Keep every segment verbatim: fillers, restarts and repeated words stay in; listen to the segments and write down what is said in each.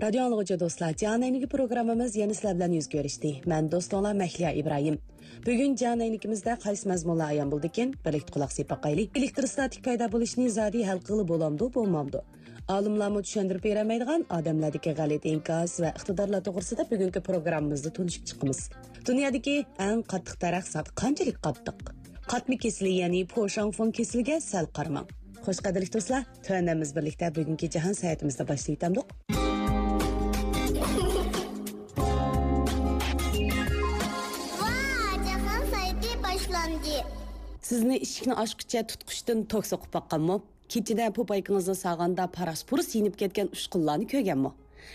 رادىيو ئاڭلىغۇچى دوستلار، جان ئەينىكى پروگراممىمىز يەنە سىلەر بىلەن يۈز كۆرۈشتى. مەن دوستۇڭلار مەھلىيا ئىبراھىم. بۈگۈن جان ئەينىكىمىزدە قايسى مەزمۇنلار ئايان بولدىكىن؟ بىرلىكتە قۇلاق سېلىپ باقايلى. ئېلېكتروستاتىك پەيدا بولۇشنى زادى ھەل قىلغىلى بولامدۇ، بولمامدۇ؟ ئالىملارمۇ چۈشەندۈرۈپ بېرەلمەيدىغان ئادەملەردىكى غەلىتە ئىنكاس ۋە ئىقتىدارلار توغرىسىدا بۈگۈنكى پروگراممىمىزدا تونۇشۇپ چىقىمىز. دۇنيادىكى ئەڭ قاتتىق دەرەخ زادى قانچىلىك قاتتىق؟ قاتما كېسىلى، يەنى پوشاڭفېڭ كېسىلىگە سەل قارىماڭ. خوش، قەدىرلىك دوستلار، تۆۋەندە بىز بىرلىكتە بۈگۈنكى جاھان ساياھىتىمىزنى باشلاۋېتەمدۇق. ۋا، جاھان ساياھىتى باشلاندى. سىزنى ئىشىكنى ئاچقۇچە تۇتقۇچتىن توك سوقۇپ باققانمۇ؟ كېچىدە پوپايكىڭىزنى ساغاندا پاراس-پۇرۇس يېنىپ كەتكەن ئۇچقۇنلارنى كۆرگەنمۇ؟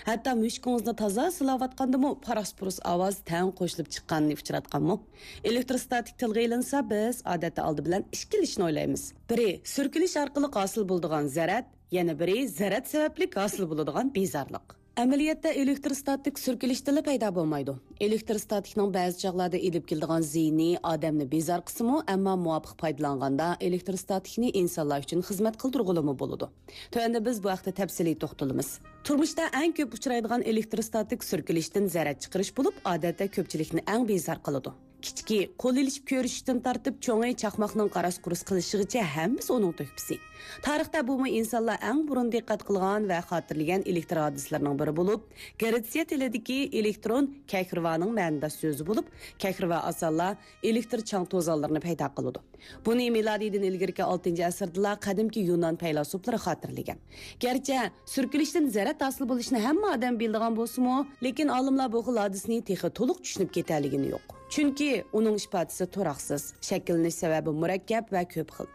ھەتتا مۈشۈكىڭىزنى تازا سىلاۋاتقاندىمۇ پاراس-پۇرۇس ئاۋاز تەڭ قوشۇلۇپ چىققاننى ئۇچراتقانمۇ؟ ئېلېكتروستاتىك تىلغا ئېلىنسا، بىز ئادەتتە ئالدى بىلەن ئىككىلا ئىشنى ئويلايمىز. بىرى، سۈركىلىش ئارقىلىق ھاسىل بولىدىغان زەرەت، يەنە بىرى، زەرەت سەۋەبلىك ھاسىل بولىدىغان بىزارلىق. ئەمەلىيەتتە ئېلېكتروستاتىك سۈركىلىشتىنلا پەيدا بولمايدۇ. ئېلېكتروستاتىكنىڭ بەزى چاغلاردا ئېلىپ كېلىدىغان زىيىنى ئادەمنى بىزار قىلسىمۇ، ئەمما مۇۋاپىق پايدىلانغاندا ئېلېكتروستاتىكنى ئىنسانلار ئۈچۈن خىزمەت قىلدۇرغىلىمۇ بولىدۇ. تۆۋەندە بىز بۇ ھەقتە تەپسىلىي توختىلىمىز. تۇرمۇشتا ئەڭ كۆپ ئۇچرايدىغان ئېلېكتروستاتىك سۈركىلىشتىن زەرەت چىقىرىش بولۇپ، ئادەتتە كۆپچىلىكنى ئەڭ بىزار قىلىدۇ. كىچىكى، قول ئېلىشىپ كۆرۈشۈشتىن تارتىپ، چوڭى چاقماقنىڭ قاراس-قۇرۇس قىلىشىغىچە ھەممىسى ئۇنىڭ تۆھپىسى. تارىختا بۇمۇ ئىنسانلار ئەڭ بۇرۇن دىققەت قىلغان ۋە خاتىرىلىگەن ئېلېكتر ھادىسىلىرىنىڭ بىرى بولۇپ، گرېتسىيە تىلىدىكى ئېلېكترون كەھرىۋانىڭ مەنىداش سۆزى بولۇپ، كەھرىۋا ئاسانلا ئېلېكتر چاڭ توزانلىرىنى پەيدا قىلىدۇ. بۇنى مىلادىيدىن ئىلگىرىكى ئالتىنچى ئەسىردىلا قەدىمكى يۇنان پەيلاسوپلىرى خاتىرىلىگەن. گەرچە سۈركىلىشتىن زەرەت ھاسىل بولۇشىنى ھەممە ئادەم بىلىدىغان بولسىمۇ، لېكىن ئالىملار بۇ خىل ھادىسىنى تېخى تولۇق چۈشىنىپ كېتەلىگىنى يوق. چۈنكى ئۇنىڭ ئىپادىسى تۇراقسىز، شەكىللىنىش سەۋەبى مۇرەككەپ ۋە كۆپ خىل.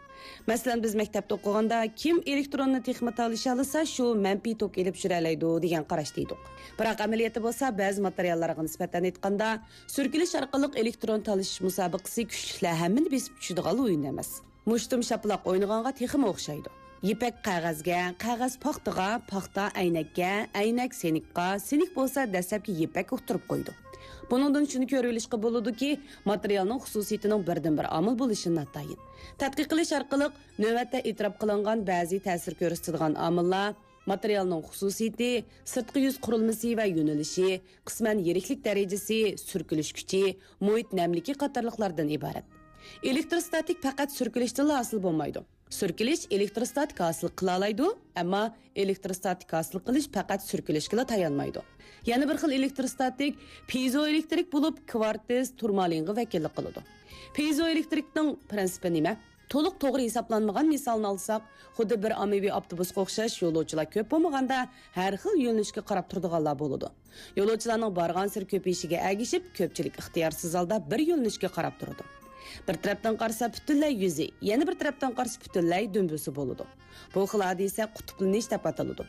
مەسىلەن، بىز مەكتەپتە ئوقۇغاندا، «كىم ئېلېكتروننى تېخىمۇ تالىشالىسا، شۇ مەنپىي توك ئېلىپ يۈرەلەيدۇ» دېگەن قاراشتا ئىدۇق. بىراق ئەمەلىيەتتە بولسا، بەزى ماتېرىياللارغا نىسبەتەن ئېيتقاندا، سۈركىلىش ئارقىلىق ئېلېكترون تالىشىش مۇسابىقىسى كۈچلۈكلەر ھەممىنى بېسىپ چۈشىدىغان ئويۇن ئەمەس. مۇشتۇم شاپىلاق ئوينىغانغا تېخىمۇ ئوخشايدۇ. يىپەك قەغەزگە، قەغەز پاختىغا، پاختا ئەينەككە، ئەينەك سېنىكقا، سېنىك بولسا دەسلەپكى يىپەك ئۇقتۇرۇپ قويىدۇ. بۇنىڭدىن شۇنى كۆرۈۋېلىشقا بولىدۇكى، ماتېرىيالنىڭ خۇسۇسىيىتىنىڭ بىردىنبىر ئامىل بولۇشى ناتايىن. تەتقىق قىلىش ئارقىلىق نۆۋەتتە ئېتىراپ قىلىنغان بەزى تەسىر كۆرسىتىدىغان ئامىللار، ماتېرىيالنىڭ خۇسۇسىيىتى، سىرتقى يۈز قۇرۇلمىسى ۋە يۆنىلىشى، قىسمەن يىرىكلىك دەرىجىسى، سۈركىلىش كۈچى، مۇھىت نەملىكى قاتارلىقلاردىن ئىبارەت. ئېلېكتروستاتىك پەقەت سۈركىلىشتىنلا ھاسىل بولمايدۇ. سۈركىلىش ئېلېكتروستاتىك ھاسىل قىلالايدۇ، ئەمما ئېلېكتروستاتىك ھاسىل قىلىش پەقەت سۈركىلىشكىلا تايانمايدۇ. يەنە بىر خىل ئېلېكتروستاتىك پىيزوئېلېكترىك بولۇپ، كۋارتس، تۇرمالىنغا ۋەكىللىك قىلىدۇ. پىيزوئېلېكترىكنىڭ پىرىنسىپى نېمە؟ تولۇق توغرا ھېسابلانمىغان مىسالنى ئالساق، خۇددى بىر ئاممىۋى ئاپتوبۇسقا ئوخشاش يولۇچىلار كۆپ بولمىغاندا، ھەر خىل يۆنىلىشكە قاراپ تۇرىدىغانلار بولىدۇ. يولۇچىلارنىڭ بارغانسېرى كۆپىيىشىگە ئەگىشىپ، كۆپچىلىك ئىختىيارسىز ھالدا بىر يۆنىلىشكە قاراپ تۇرىدۇ. بىر تەرەپتىن قارىسا پۈتۈنلەي يۈزى، يەنە بىر تەرەپتىن قارىسا پۈتۈنلەي دۈمبىسى بولىدۇ. بۇ خىل ھادىسە قۇتۇپلىنىش دەپ ئاتىلىدۇ.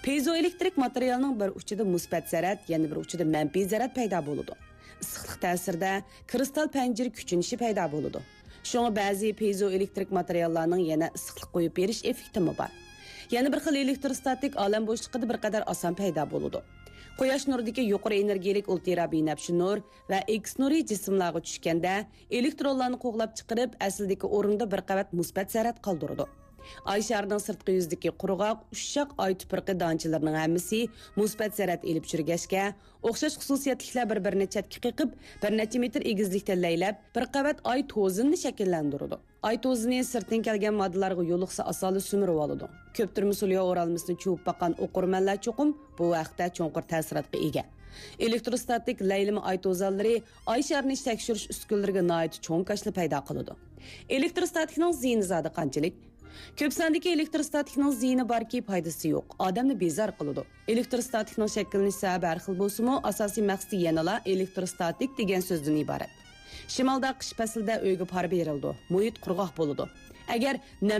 پىيزوئېلېكترىك ماتېرىيالنىڭ بىر ئۇچىدا مۇسبەت زەرەت، يەنە بىر ئۇچىدا مەنپىي زەرەت پەيدا بولىدۇ. ئىسسىقلىق تەسىرىدە كىرىستال پەنجىرە كۈچىنىشى پەيدا بولىدۇ. شۇڭا بەزى پىيزوئېلېكترىك ماتېرىياللارنىڭ يەنە ئىسسىقلىق قويۇپ بېرىش ئېففېكتىمۇ بار. يەنە بىر خىل ئېلېكتروستاتىك ئالەم بوشلۇقىدا بىر قەدەر ئاسان پەيدا بولىدۇ. قۇياش نۇرىدىكى يۇقىرى ئېنېرگىيەلىك ئۇلترا بىنەپشە نۇر ۋە ئېكس نۇرى جىسىملارغا چۈشكەندە، ئېلېكترونلارنى قوغلاپ چىقىرىپ، ئەسلىدىكى ئورۇندا بىر قەۋەت مۇسبەت زەرەت قالدۇرىدۇ. ئاي شارىنىڭ سىرتقى يۈزىدىكى قۇرغاق، ئۇششاق ئاي تۇپرىقى دانچىلىرىنىڭ ھەممىسى مۇسبەت زەرەت ئېلىپ يۈرگەچكە، ئوخشاش خۇسۇسىيەتلىكلەر بىر-بىرىنى چەتكە قېقىپ، بىر نەچچە مېتىر ئېگىزلىكتە لەيلەپ، بىر قەۋەت ئاي توزىنىنى شەكىللەندۈرىدۇ. ئاي توزىنى سىرتتىن كەلگەن ماددىلارغا يولۇقسا ئاسانلا سۈمۈرۈۋالىدۇ. كۆپتۈرمە سولياۋ ئورالمىسىنى چۇۋۇپ باققان ئوقۇرمەنلەر چوقۇم بۇ ھەقتە چوڭقۇر تەسىراتقا ئىگە. ئېلېكتروستاتىك لەيلىمە ئاي توزانلىرى ئاي شارىنى تەكشۈرۈش ئۈسكۈنىلىرىگە ناھايىتى چوڭ كاشىلا پەيدا قىلىدۇ. ئېلېكتروستاتىكنىڭ زىيىنى زادى قانچىلىك؟ كۆپ ساندىكى ئېلېكتروستاتىكنىڭ زىيىنى باركى، پايدىسى يوق، ئادەمنى بىزار قىلىدۇ. ئېلېكتروستاتىكنىڭ شەكىللىنىش سەۋەبى ھەر خىل بولسىمۇ، ئاساسىي مەقسىتى يەنىلا ئېلېكتروستاتىك دېگەن سۆزدىن ئىبارەت. شىمالدا قىش پەسلىدە ئۆيگە پار بېرىلىدۇ، مۇھىت قۇرغاق بولىدۇ. ئەگەر نەم